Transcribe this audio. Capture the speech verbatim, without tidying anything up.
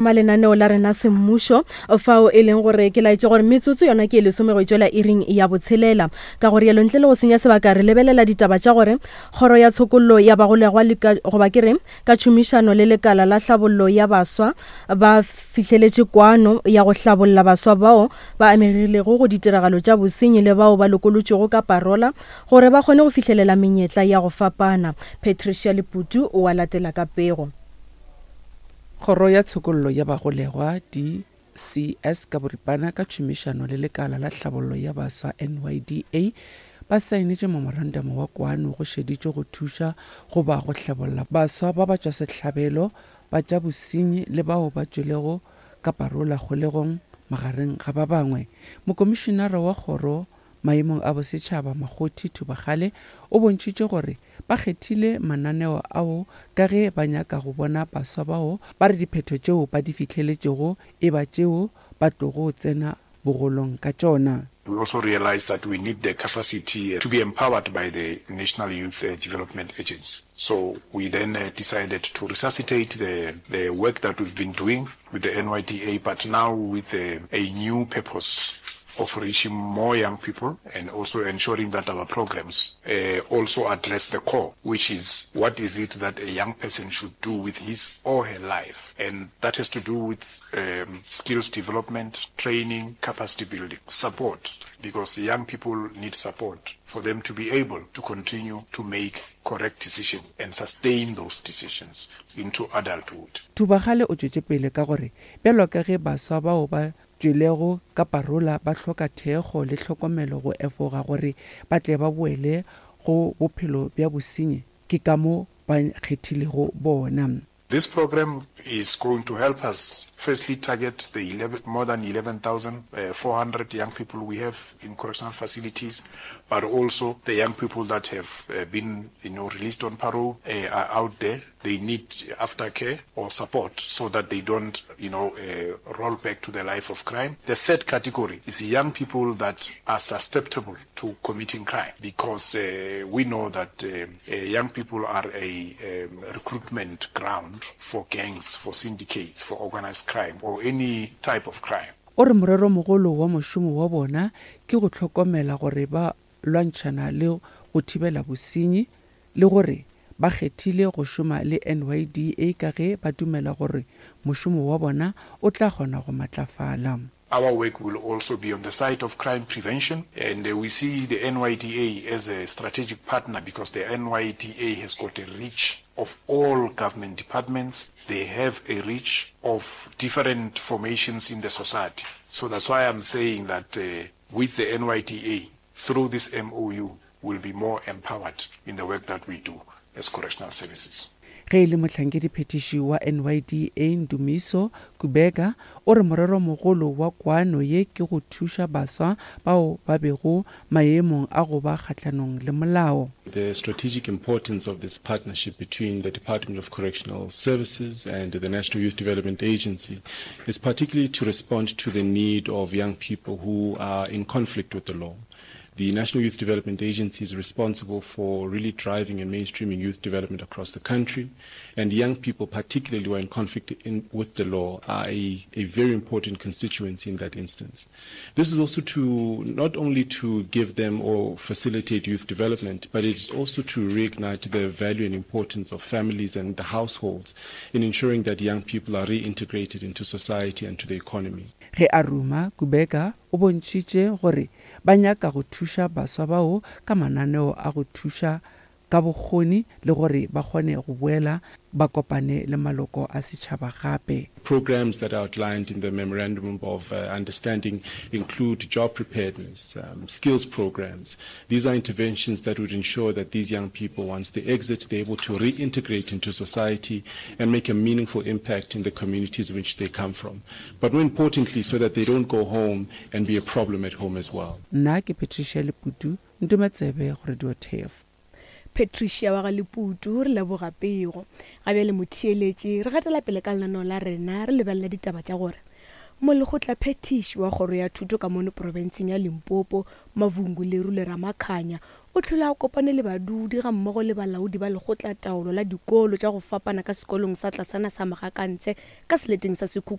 Malenaneo la rena semmušo fao e leng gore ke laetše gore metsotso yona ke e lesome go tšwela iring ya botshelela. Ka gore yalo ntle le go senya sebaka re lebelela ditaba tša gore kgoro ya tshokollo ya bagolegwa goba ke re ka tšhomišano le lekala la hlabollo ya baswa ba fihleletše kwano ya go hlabolla baswa bao ba amegilego go ditiragalo tša bosenyi le bao ba lokolotšwego ka parola gore ba kgone go fihlelela menyetla ya go fapana. Patricia Leputu o a latela ka pego. Kgoro ya Tshokollo ya Bagolegwa, D C S ka boripana, ka tšhomišano le lekala la hlabollo ya baswa, N Y D A, ba saenetše memorandamo wa kwano go šeditšwe go thuša goba go hlabolla baswa ba batšwasehlabelo ba tša bosenyi le bao ba tšwelego ka parola kgolegong magareng ga ba bangwe. Mokomišinara wa kgoro maemong a bosetšhaba Makgothi Thubagale o bontšhitše gore ba kgethile mananeo ao ka ge ba nyaka go bona baswa bao ba re diphetho tšeo ba di fihleletšego e ba tšeo ba tlogo tsena bogolong ka tšona. We also realize that we need the capacity to be empowered by the National Youth Development Agency. So we then decided to resuscitate the, the work that we've been doing with the N Y D A, but now with a, a new purpose of reaching more young people and also ensuring that our programs, uh, also address the core, which is what is it that a young person should do with his or her life. And that has to do with, um, skills development, training, capacity building, support, because young people need support for them to be able to continue to make correct decisions and sustain those decisions into adulthood. Thubagale o tšwetše pele ka gore bjalo ka ge baswa bao ba tšwelego ka parola ba hloka thekgo le tlhokomelo go efoga gore ba tle ba boele go bophelo bja bosenyi, ke ka mo ba kgethilego bona. This program is going to help us firstly target the eleven, more than eleven thousand four hundred young people we have in correctional facilities, but also the young people that have, uh, been, you know, released on parole, uh, are out there. They need aftercare or support so that they don't, you know, uh, roll back to the life of crime. The third category is young people that are susceptible to committing crime, because, uh, we know that, uh, uh, young people are a, um, recruitment ground for gangs, for syndicates, for organized crime or any type of crime. O re moreromogolo wa mošomo wa bona ke go hlokomela gore ba lwantšhana le go thibela bosenyi le gore ba kgethile go šoma le N Y D A ka ge ba dumela gore mošomo wa bona o tla kgona go matlafala. Our work will also be on the side of crime prevention, and, uh, we see the N Y D A as a strategic partner because the N Y D A has got a reach of all government departments. They have a reach of different formations in the society. So that's why I'm saying that, uh, with the N Y D A, through this M O U, we'll be more empowered in the work that we do as correctional services. Ge e le mohlankedi-phethiši wa N Y D A Ndumiso Kubeka o re moreromogolo wa kwano ye ke go thuša baswa bao ba bego maemong a go ba kgahlanong le molao. The strategic importance of this partnership between the Department of Correctional Services and the National Youth Development Agency is particularly to respond to the need of young people who are in conflict with the law. The National Youth Development Agency is responsible for really driving and mainstreaming youth development across the country, and young people, particularly who are in conflict in, with the law, are a, a very important constituency in that instance. This is also to not only to give them or facilitate youth development, but it is also to reignite the value and importance of families and the households in ensuring that young people are reintegrated into society and to the economy. Ge a ruma, Kubeka o bontšhitše gore ba nyaka go thuša baswa bao ka mananeo a go thuša ka bokgoni le gore ba kgone go boela ba kopane le maloko a setšhaba gape. Programs that are outlined in the memorandum of, uh, understanding include job preparedness, um, skills programs. These are interventions that would ensure that these young people, once they exit, they're able to reintegrate into society and make a meaningful impact in the communities in which they come from. But more importantly, so that they don't go home and be a problem at home as well. Nna ke Patricia Leputu, Ntometsebe go Radio T F. Patricia wa ga Leputu, re leboga pego. Ga bjale motheeletši, re gatela pele ka lenaneo la rena, re lebelela ditaba tša gore Molekgotlaphethiši wa Kgoro ya Thuto ka mono profenseng ya Limpopo, Mavhungu Lerule Ramakhanya, o hlole a kopane le badudi gammogo le balaodi ba lekgotlataolo la dikolo tša go fapana ka sekolong sa tlasana sa Magakantshe ka seleteng sa Sekhukhune.